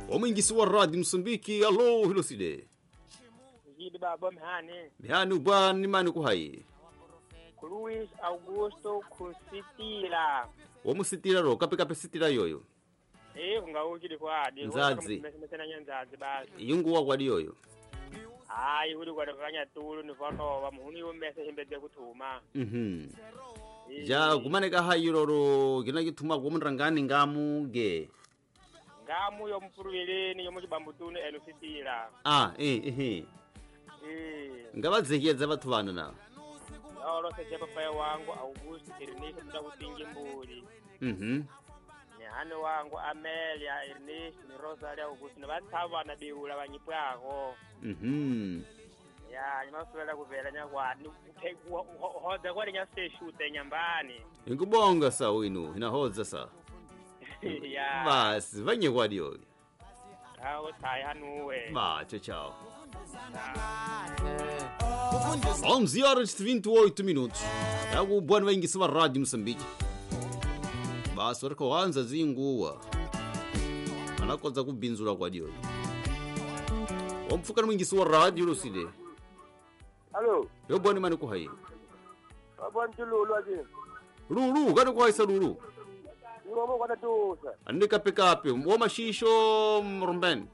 Omwingisi wa Radio Msumbiki, alo hiloside. Yidi baba mhani. Mhani ubani mani kuhayi. Luis Augusto Kusitila. Omusitila ro kape kape sitila yoyo. Eh kungaukili kwadi. Nzadzi. Mesena nyanzadzi basi. Yungu wa yoyo. Hayi uri kwa kanya tulu ni voto muhuni yomese himbede kutuma. Ja kumaneka hayiroro gina gituma kumurangani ngamuge. Ngamu yo mpuruvileni yo muchibambutuni elusitila. Ah eh. Ngabadzekiyedza vathu vana na. Olo seje papa wangu Augusto Ernest ndakutingi mbuli. Nehane wangu Amelia Ernest ni Rosalia Augusto ni vatsava na biula vanyipwako. Ya nyimaswela kuvela nyakwani hodza kwali nyaseshute nyambani. Ingubonga sa winu inahodza sa. Ya. Basi vanye kwadiyo. Awo tsayanuwe. Ba tchau tchau. 11 horas e 28 minutos. É o bom vem que se Rádio Moçambique. Basi uri kuhanza zinguwa. Anakodza kubinzura kwadiyo. Wamfuka mwingisi wa radio Lucide. Allo. Yo bwana mani kuhayi. Abantu lulu aje. Lulu, kani kuhayisa lulu. Ngomo kwa tusa. Andika pikapi, wo mashisho mrumbeni.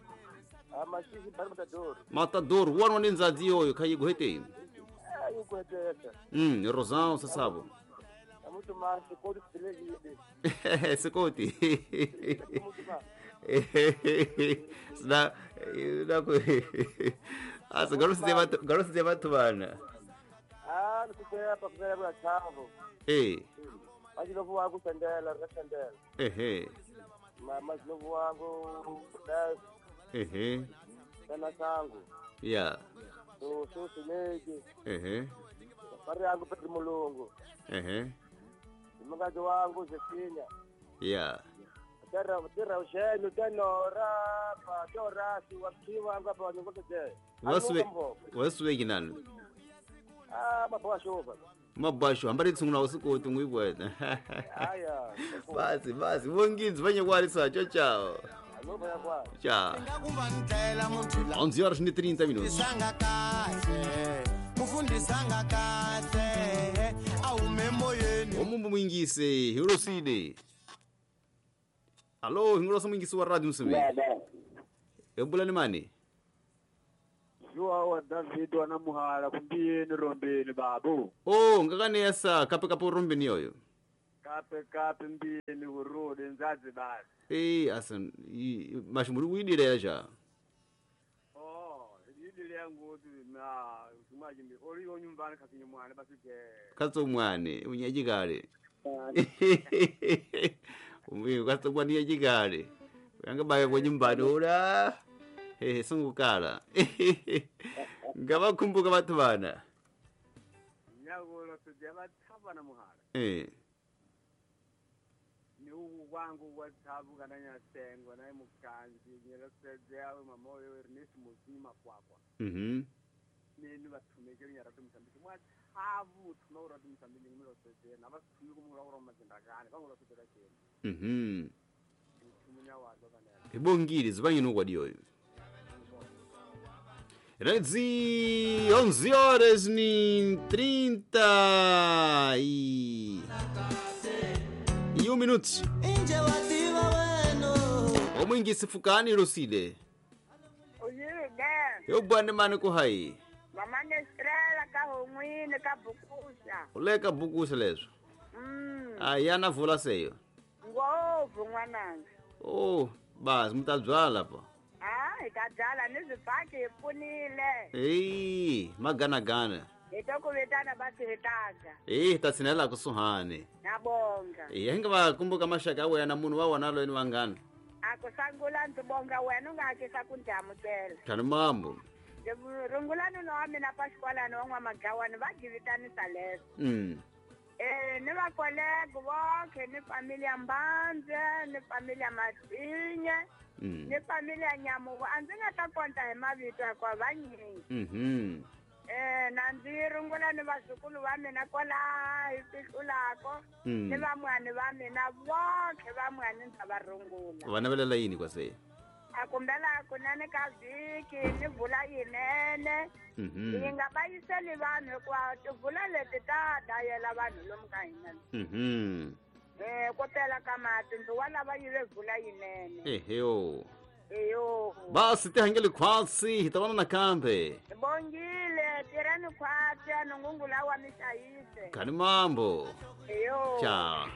Amashishi bari matador. Matador, wano ninzadzi yoyo khayi guhete. Ayi guhete. Rosão, você sabe. Muito mais, sekoti silekile. Sekoti. Sina na asa garosi de batubana. Ah, nikuseya pakuzela kwa chavo. Eh. Ajilovu wangu sandela, sandela. Ehe. Mama jilovu wangu das. Ehe. Sana sangu. Yeah. So so sileke. Ehe. Pari yangu Pedro Mulungu. Ehe. Mkazi wangu Zefinya. Yeah. Tera ushenyu tenora pa tora si wakiwa wangu hapa wanyongoze je. Wasuwe kinani? Ah, mabasho. Mabasho ambari tsunguna usikoti ngwibwena. Haya. Basi wonginzi vanye kwalisa tchau tchau. Tchau. 11 horas e 30 minutos. Omumbu mwingise hiroside. Alô, hingorosa mwingise wa Radio Msumbiji. Ebulani mani? Joao wa David wana muhala kumbiyeni rombeni babu. Oh, ngakanesa kape kape rombeni yoyo. Kape kape mbiyeni urode nzazi basi. Eh, asan mashumuri widire yaja. Oh, idile yangu na usumaji mbi oriyo nyumbani kakinye mwana basi ke. Katso mwane unyajikale. Umbi katso mwane unyajikale. Yanga baya kwa nyumbani ora. Hehe sungukala. Ngabakumbuka bathu bana. Nyagolo tujaba thabana muhala. Eh. Ni wangu wathabu kana nyasengo naye mukanzi nyelosedzea mamoyo Ernest Muzima kwakwa. Neni bathumekele nyaratu Mozambique mwathabu thuma uratu Mozambique ngilosedzea nabathumi kumura uromazindakane bangulosedzela cheni. Thumunya wazo kanela. Ibongile zibanye nokwadiyoyo. Redzi 11 horas e 31 minutos. Omwingisi fukani Lucide. Uyide. Eu bwana mani kuhayi. Mama Estrela ka homwini ka bukusa. Uleka bukusa lezo. Ayana vula seyo. Ngovu ngwananga. Oh, basi mutadzwala pa. Ah, ikadzala nizibhaki ipunile. Eh, magana gana. Itokuvitana basi hitaga. Eh, tatsinela kusuhane. Nabonga. Eh, hingabakumbuka mashaka wena munhu wa wona loyi ni vangana. Akusangula ndibonga wena ungakisa kundamukela. Tani mambo. Rungulani no wa mina Pasqualani wa N'wamagawani va givitanisa leswo. Ni va kolego vonke ni familia Mbandze ni familia Matinye ni familia Nyamuku a ndzi nga ta konta hi mavito hikuva vanyingi. Na ndzi rungula ni vazukulu va mina kwalaha hi fihlulako ni vamwani va mina vonkhe vamwani ndza va rungula. Va navelela yini kwase? A kumbela kunene ka vhiki ni vula yinene. Yi nga va yiseli vanhu hikuva tivula leti ta dayela vanhu lomu ka hina. Ku tela ka mati ndzi wa lava yi ve vula yinene. Eheyo. Eyo. Basi tihangele khwatsi hi ta vona nakambe. Bongile tirhani khwatsi a nungungula wa mixayise. Kani mambo. Eyo. Ciao.